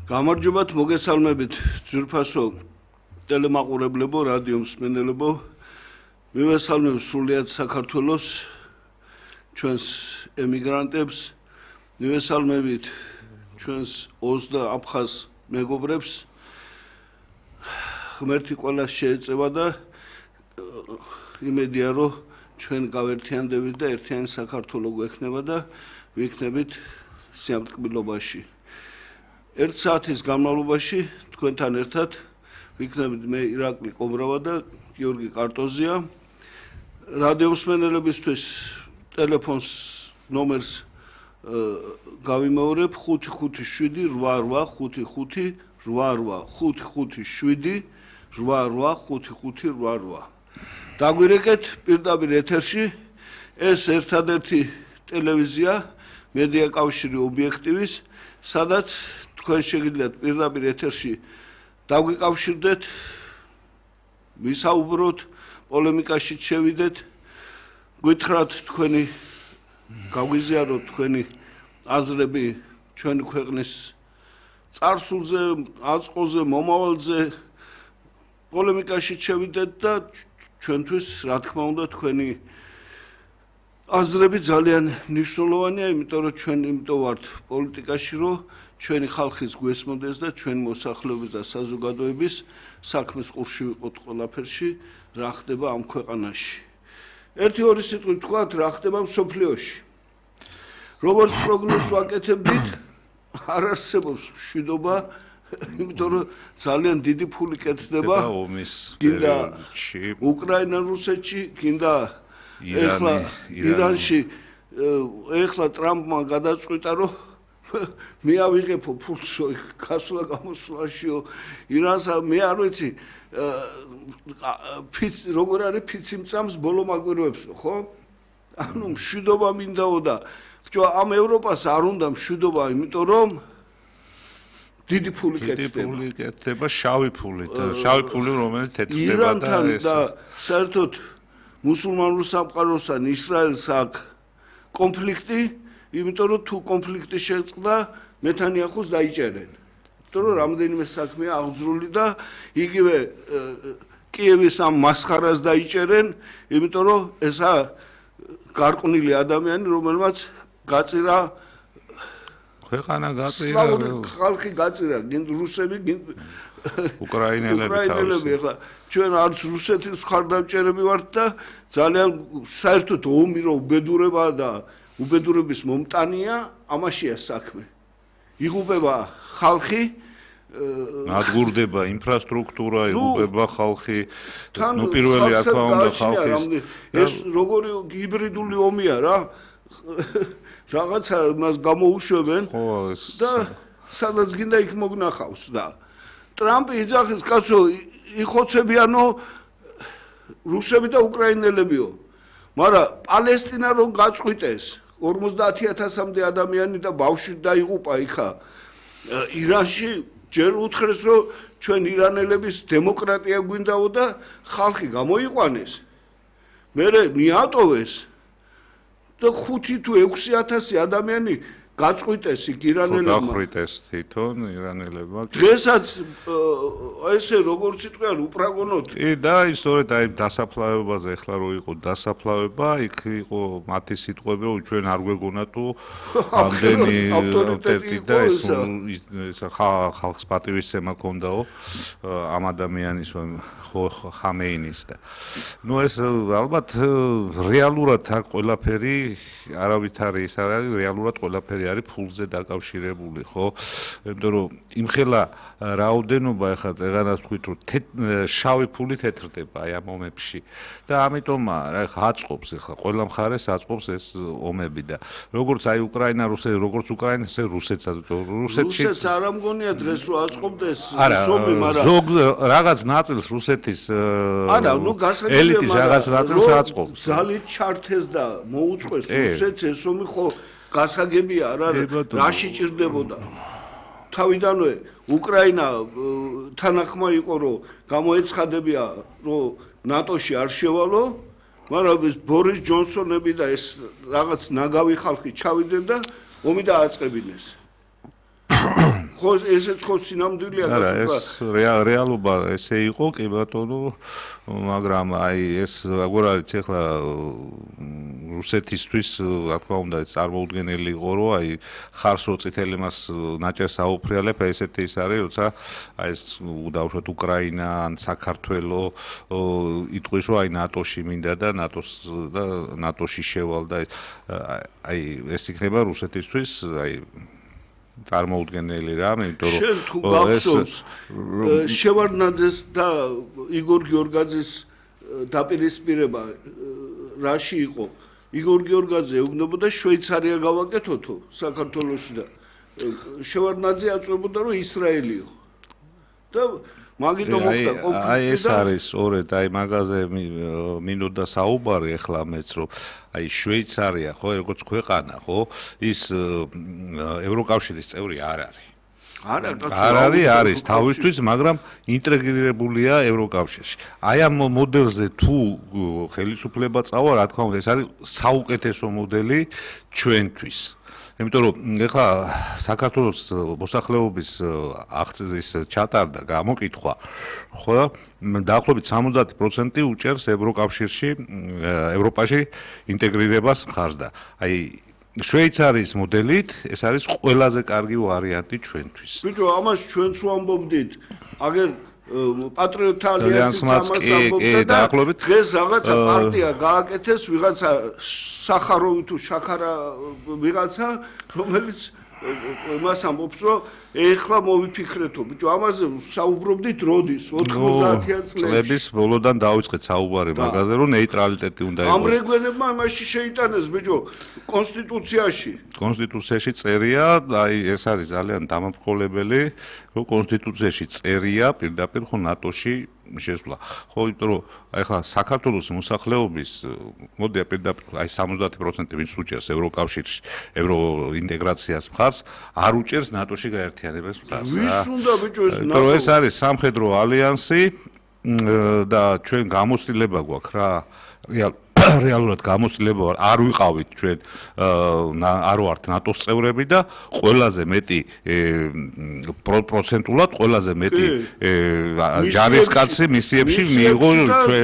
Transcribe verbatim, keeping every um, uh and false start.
გამარჯობათ, მოგესალმებით ძვირფასო ტელემაყურებლებო, რადიო მსმენელებო. მივესალმებ სრულიად საქართველოს ჩვენს ემიგრანტებს, მივესალმებით ჩვენს ოცდა აფხაზ მეგობრებს. ღმერთი ყველას შეეწევა და იმედია, რომ ჩვენ გავერთიანდებით და ერთიანი საქართველო გვექნება და ვიქნებით სიამტკბილობაში. ერთ საათის განმავლობაში თქვენთან ერთად ვიქნებით მე ირაკლი ყომრავა და გიორგი კარტოზია. რადიო მსმენელებისთვის ტელეფონს ნომერს გავიმეორებ ხუთი ხუთი შვიდი რვა რვა ხუთი ხუთი რვა რვა ხუთი ხუთი შვიდი რვა რვა ხუთი ხუთი რვა რვა. დაგვირეკეთ პირდაპირ ეთერში ეს ერთადერთი ტელევიზია მედია კავშირი ობიექტივის, სადაც თქვენ შეგიძლიათ პირდაპირ ეთერში დაგვიკავშირდეთ, ვისაუბროთ, პოლემიკაში შევიდეთ, გითხრათ თქვენი გაგვიზიაროთ თქვენი აზრები ჩვენი ქვეყნის წარსულზე, აწყოზე, მომავალზე, პოლემიკაში შევიდეთ და ჩვენთვის, რა თქმა უნდა, თქვენი აზრები ძალიან მნიშვნელოვანია, იმიტომ რომ ჩვენ იმიტომ ვართ პოლიტიკაში, რომ ჩვენი ხალხის გვესმოდეს და ჩვენი მოსახლეობის და საზოგადოების საქმის ყურში ვიყოთ ყველაფერში, რა ხდება ამ ქვეყანაში. ერთი ორი სიტყვით ვთქვათ, რა ხდება მსოფლიოში. როგორც პროგნოზს ვაკეთებდით, არ არსებობს მშვიდობა, იმიტომ რომ ძალიან დიდი ფული კეთდება გინდა უკრაინა, რუსეთში, გინდა ეხლა ირანში, ეხლა ტრამპმა გადაწყვიტა, რომ მე ავიღებო ფულსო გასვლა გამოსვლაშიო ირანსა მე არ ვიცი ფიც როგორ არის ფიცი მწამს ბოლო მაგვიროებსო, ხო? ანუ მშვიდობა მინდაო და ხო ამ ევროპას არ უნდა მშვიდობა, იმიტომ რომ დიდი ფული კეთდება. დიდი ფული კეთდება, შავი ფული, შავი ფული რომელიც თეთრდება და ეს და საერთოდ მუსულმანურ სამყაროსთან ისრაელს აქვს კონფლიქტი, იმიტომ რომ თუ კონფლიქტი შეწყდა, ნეთანიაჰუს დაიჭერენ. იმიტომ რომ რამდენიმე საქმეა აღძრული და იგივე კიევის ამ მასხარას დაიჭერენ, იმიტომ რომ ესა გარყვნილი ადამიანი, რომელმაც გაწირა ქვეყანა გაწირა, ხალხი გაწირა, გინდ რუსები, გინდ უკრაინელები. ეხლა ჩვენ არც რუსეთის მხარდამჭერები ვართ და ძალიან საერთოდ ომი რო უბედურება და უბედურების მომტანია, ამაშია საქმე. იღუპება ხალხი, ნადგურდება ინფრასტრუქტურა, იღუპება ხალხი, ნუ პირველი რა თქმა უნდა ხალხის. ეს როგორი ჰიბრიდული ომია რა? რაღაცა მას გამოუშვებენ და სადაც გინდა იქ მოგნახავს და ტრამპი იძახის კაცო იხოცებიანო რუსები და უკრაინელებიო. მაგრამ პალესტინა რომ გაწყვიტეს ორმოცდაათი ათასამდე ადამიანი და ბავშვი დაიღუპა იქა ირანში, ჯერ უთხრეს რომ ჩვენ ირანელების დემოკრატია გვინდაო და ხალხი გამოიყვანეს. მერე მიატოვეს და ხუთი თუ ექვსი ათასი ადამიანი გაწყვიტეს იქ ირანელებმა. გახვრიტეს თვითონ ირანელებმა. დღესაც ესე როგორც იტყვიან უპრაგონოდ. კი და ისწორედ აი დასაფლავებაზე ახლა რო იყო დასაფლავება, იქ იყო მათი სიტყვები, რომ ჩვენ არ გვეგონა თუ ამდენი ავტორიტეტი და ეს ხალხს პატივისცემა ქონდაო ამ ადამიანის ხამეინის და. ნუ ეს ალბათ რეალურად აქ ყველაფერი არავით არის, ის არის რეალურად ყველაფერი არის ფულზე დაკავშირებული, ხო? იმიტომ რომ იმხელა რაოდენობა ახლა წეღანას თქვით, რომ შავი ფული თეთრდება აი ამ ომებში და ამიტომ რა ახლა აწყობს ახლა ყველა მხარეს აწყობს ეს ომები და როგორც აი უკრაინა, რუსეთი, როგორც უკრაინა, ესე რუსეთსაც რუსეთში რუსეთს არ ამგონია დღეს რომ აწყობდეს ომი, მაგრამ ზოგ რაღაც ნაწილს რუსეთის არა, ნუ გასაგებია, ელიტის რაღაც ნაწილს აწყობს. ძალით ჩართეს და მოუწყვეს რუსეთს ეს ომი, ხო გასაგებია რა რაში ჭირდებოდა. თავიდანვე უკრაინა თანახმა იყო რომ გამოეცხადებია რომ ნატოში არ შევალო, მაგრამ ეს ბორის ჯონსონები და ეს რაღაც ნაგავი ხალხი ჩავიდნენ და ომი დააწყებინეს. ხო ესეც ხო სინამდვილეა არა ეს რეალობა ესე იყო კი ბატონო მაგრამ აი ეს როგორ არის ახლა რუსეთისთვის რა თქმა უნდა ეს წარმოუდგენელი იყო რომ აი ხარს რო წითელი მას ნაჭერს აუფრიალებ ესეთი ის არის როცა აი ეს დაუშვათ უკრაინა ან საქართველო იტყვის რომ აი ნატოში მინდა და ნატოს და ნატოში შევალ და აი ეს იქნება რუსეთისთვის აი წარმოუდგენელი რამე, იმიტომ რომ შენ თუ გახსოვს შევარდნაძეს და იგორ გიორგაძის დაპირისპირება რაში იყო? იგორ გიორგაძე ეუბნებოდა შვეიცარია გავაკეთოთო საქართველოში და შევარდნაძე აწვებოდა რომ ისრაელიო. და მაგიტომ მოხდა კონფლიქტი და აი ეს არის სწორედ აი მაგაზე მინდოდა საუბარი ახლა მეც რომ აი შვეიცარია ხო როგორც ქვეყანა ხო ის ევროკავშირის წევრი არ არის. არ არის არის თავისთვის მაგრამ ინტეგრირებულია ევროკავშირში. აი ამ მოდელზე თუ ხელისუფლება წავა რა თქმა უნდა ეს არის საუკეთესო მოდელი ჩვენთვის. იმიტომ რომ ეხლა საქართველოს მოსახლეობის აღწერის ჩატარდა გამოკითხვა ხო დაახლოებით სამოცდაათი პროცენტი უჭერს ევროკავშირში ევროპაში ინტეგრირებას მხარს და აი შვეიცარიის მოდელით ეს არის ყველაზე კარგი ვარიანტი ჩვენთვის. ბიჭო ამას ჩვენც ვამბობდით აგერ პატრიოტთა ალიანსის ამას ამბობდა დღეს რაღაცა პარტია გააკეთეს ვიღაცა სახაროვი თუ შაქარა ვიღაცა რომელიც მას ამბობს რომ ეხლა მოვიფიქრეთო ბიჭო ამაზე საუბრობდით როდის ოთხმოცდაათიან წლების ბოლოდან დაიწყეთ საუბარი მაგაზე რომ ნეიტრალიტეტი უნდა იყოს. ამ რეგვენებმა იმაში შეიტანეს ბიჭო კონსტიტუციაში. კონსტიტუციაში წერია აი ეს არის ძალიან დამამრგოლებელი რომ კონსტიტუციაში წერია პირდაპირ ხო ნატოში შესვლა. ხო იმიტომ რომ აი ხა საქართველოს მოსახლეობის მოდი პირდაპირ აი სამოცდაათი პროცენტი ვინც უჭერს ევროკავშირში ევროინტეგრაციას მხარს არ უჭერს ნატოში გაერთიანებას მხარს. ვის უნდა ბიჭო ეს ნატო? იმიტომ რომ ეს არის სამხედრო ალიანსი და ჩვენ გამოცდილება გვაქვს რა რეალ რეალურად გამოცდილება არ ვიყავით ჩვენ არ ვართ ნატოს წევრები და ყველაზე მეტი პროცენტულად ყველაზე მეტი ჯარისკაცი მისიებში მიიღო ჩვენ